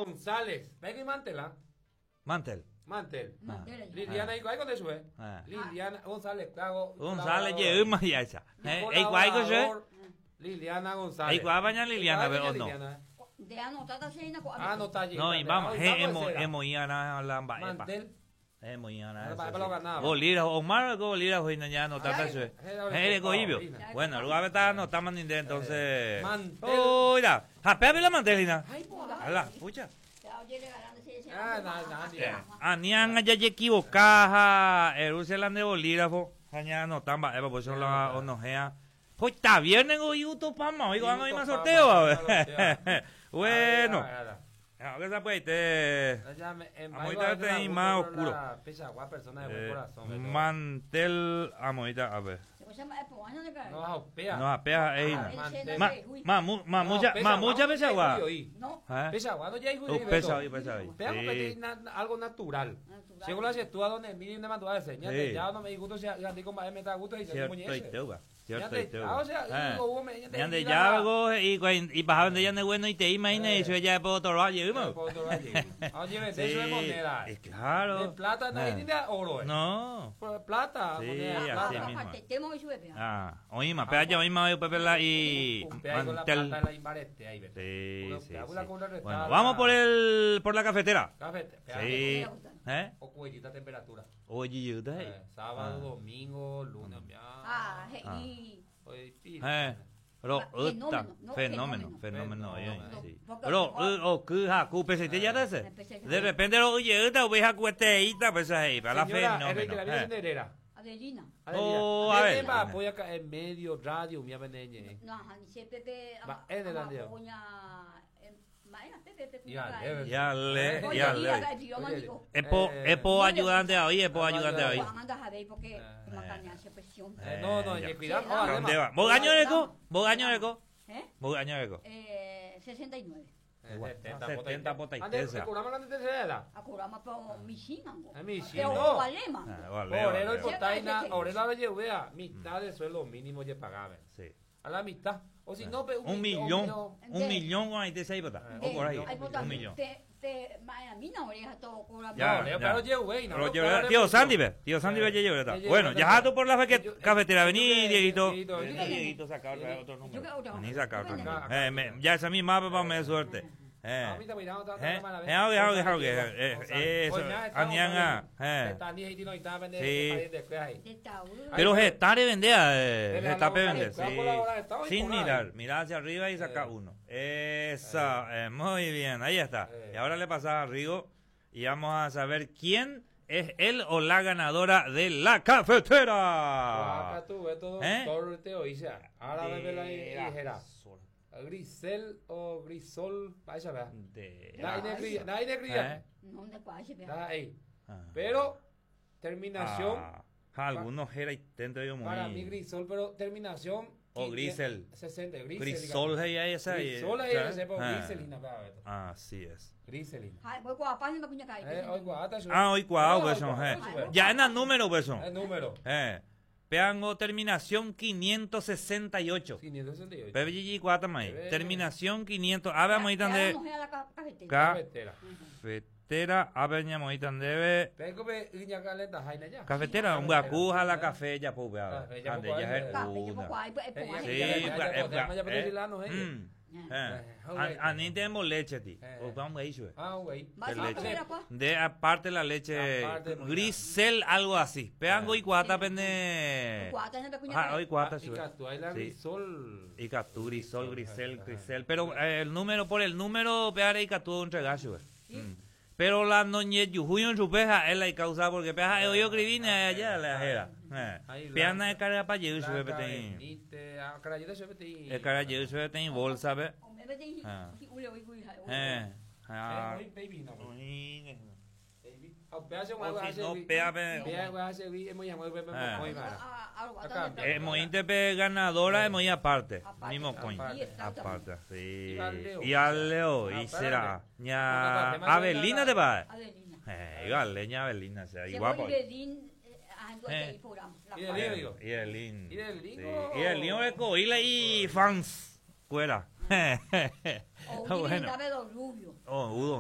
González. Ve que Mantela. Mantel. Mantel. Mantel. Liliana, ¿y cuál con eso, eh? Ah. Liliana González, claro. González jeýma hi'áicha. Eh, eikuaáiko che? Liliana González. Eikuaápa ña Liliana pe o no? Liliana. De anotada se ina ko. Ah, no está allí. No, y vamos, eh, emoĩ'arã la mba'épa. Mantel. Emoĩ'arã Ah, mba'épa lo ganaba. Bolígrafo, Omar ko bolígrafo hína ña anotata Ay, chupe. eh, Hereko'ípio. eh, Bueno, ruguápe anotáma ninde entonces. Mantel. Oira, japéape la mantel hína. Ay, po. A la pucha. Ah, na, na, na. Ani ág̃a jajequivoca ha erúse la nde bolígrafo ha ña anota mba'épa por eso la onohea. Hoita viernes go iutopáma, oigo ág̃a oĩma sorteo. Bueno. Ah, esa pues, te Amoita peteĩ más oscuro. Pechagua, persona de buen corazón. Beto. Mantel amoita, a ver. No, apea. No apea eina. Mantel. Ma ma mu, ma mucha ma mucha pechagua. No. ¿Eh? Pechagua no ya Oh, pesa hoy, pesa hoy. Pega Sí. algo natural. Natural. Según la tú a donde mire una mandó a enseñar, Sí. ya no me gusto si andi con me da gusto y se Cierto muñeca. y teuba. Cierto Ñande y teuba. ya, o sea, Eh. hubo me- ñande Ñande mira. ya go y y bajaba de ya bueno y te imagina y eso ya puedo torbar llegamos. Oye, eso es moneda. Claro. De plata, no Eh. hay ni de oro. No. Por Plata, Sí, moneda, así plata. mismo. Temo y sube. Ah, oíma, pega ya oíma oí pepe la y Upea con la mantel. plata la imbarete ahí, ve. Sí, Uno sí, pega sí. una con una Bueno, restada. vamos por el por la cafetera. Café, pega Sí. ¿Eh? O cuellita temperatura. Oye, yo te. Sábado, Ah. domingo, lunes, ya. Ah, y Oye, pi- Eh. Ro, Ah, uta, fenómeno, no, fenómeno, fenómeno. fenómeno, oye, Fenómeno. sí. Porque- Ro, u, o, ku, ja, ku, pe, se te ya de ese. Empecé. De repente, ro, oye, uta, oveja, cu, este, ita, pues ahí, para la Señora, Enrique, fenómeno. la vida Eh. de Herrera. Adelina. Oh, a ver. Va, apoya acá en medio, radio, mi abeneñe. No, ajá, ni se Pepe. Va, en el andeo. Pepe Pepe. Ya, le- Ya le, Oye, ya diga, le. idioma, digo. Epo, Eh. epo ayudante hoy, epo ayudante hoy. Anda a ver porque macaña se presión. No, no, Ya. y cuidado. Sí, oh, además. ¿Dónde va? ¿Vos año eco? ¿Vos año eco? ¿Eh? ¿Vos año eco? 69. 70 70 Ande, potaitésa. cobramos la tercera edad. Acurama po mishinango. Ah, mishin, Pero no. valema. Ah, vale, Orero y vale. potaina, orero la llevea, mitad de sueldo mínimo ye pagaba. Sí. A la mitad. O si no, pe, Un millón. millón, un millón con ahí te seis bota. O por ahí, Ay, un millón. Te te ma mina oreja todo cura. Ya, No, Leo, ya. pero llevé, no, Pero pero llevé- le Tío puso. Sandy, ve. Tío Sandy, ve, llevé, Ya Bueno, llevé, ya tú por la fe- Yo- cafetera. Vení, yo que- Dieguito. Dieguito, Vení, yo- Dieguito, saca otro Yo número. que otro. Vení, saca otro Yo número. que- Ya esa misma, papá, me de suerte. Ah, mira, mira, otra- otra Eh, mala vez. eh, eh, eh, González. eso, Oye, ya, está, Anianga, González. eh. Está ni ahí, no, está, vende, Sí. pariente, cuida ahí. De Tauro. Pero Gestare vendea, Getafe González, vende, cuidado sí. con la hora, está hoy Sin por ahí. mirar, mirar hacia arriba y saca uno. Esa, muy bien, ahí está. Y ahora le pasa a Rigo y vamos a saber quién es él o la ganadora de la cafetera. Acá tú ves todo, ¿Eh? todo te oí, ya. Ahora bebe la De hijera. sol. Grisel o Grisol, vaya, vea. De Nadie cría, nadie cría. ¿Eh? No de cuál se vea. Nada ahí. Ah. Pero terminación, Ah, algunos era intento yo muy. para mí Grisol, pero terminación O Grisel. 60, Grisel. Grisol, digamos. ahí, ahí, esa, ahí, Grisol ahí, ¿sabes? ese, pero Ah. Griselina, vea, Beto. Así es. Griselina. Ay, voy guapa, no me cuña cae. Hoy guata, yo- Ah, hoy cuau, No, pues, hoy guau, eh. pues, Ya en el número, pues, son. El número. Peango terminación 568. 568. Pepe Gigi cuatro ahí. Bebe. Terminación 500. A ver, moitan de La cafetera. Cafetera. cafetera. A ver, ñamoitan debe. Vengo pe iña calenta jaina ya. Cafetera, un guacuja la café ya pues, vea. Café, ya, Ande, pues, ya es Café, yo una. poco ay, pues, Eh, Sí, ya, ya, pues, ya, ya, ya, ya, eh, ya, ya, A ni tenemos leche, ti. Eh. O vamos ahí, sube. Ah, güey. Va, De va, leche. va, va. De aparte la leche. Aparte, muy Grisel, algo así. Peango y cuata pende. Cuata, no me cuña Ah, cae. hoy cuata, Y sube. catu, ahí la Sí. Grisol. Y Catú, Grisol, Grisel, Ajá. Grisel. Pero el número, por el número, peare y Catú un regacho. Pero la noñe yujuyo en su peja es la causa porque peja yo escribí allá la jera. Ahí Peana de carga pa llevar su Blanca pepe. Benítez, ah, carayita, su pepe. El cara llevar su pepe en bolsa pe. O me vete y Ah. y ule, uy, uy, uy. Eh. Ah. Eh, baby, no, Uy, baby. Ah, pea se O guay, si no, hace- pea pe. Pea guay, hace vi, hemos llamado pepe, Eh. muy mala. Ah, ah, Acá. ah, Mointe pe ganadora de muy aparte. Aparte. Mismo coin. Aparte. Aparte, sí. Y al Leo. Y al Leo, y Ah, será. espérate. Ña Abelina te va. Adelina. Igual, leña Abelina, sea, y Se guapo. voy Bedín, ah, en Eh. y programa. La Y de cual. Leo, digo. Y el Lin. Y el Lin, Sí. oh. Y el Lin es coila y fans. Cuera. O un Bueno. Rubio. Oh, Udo.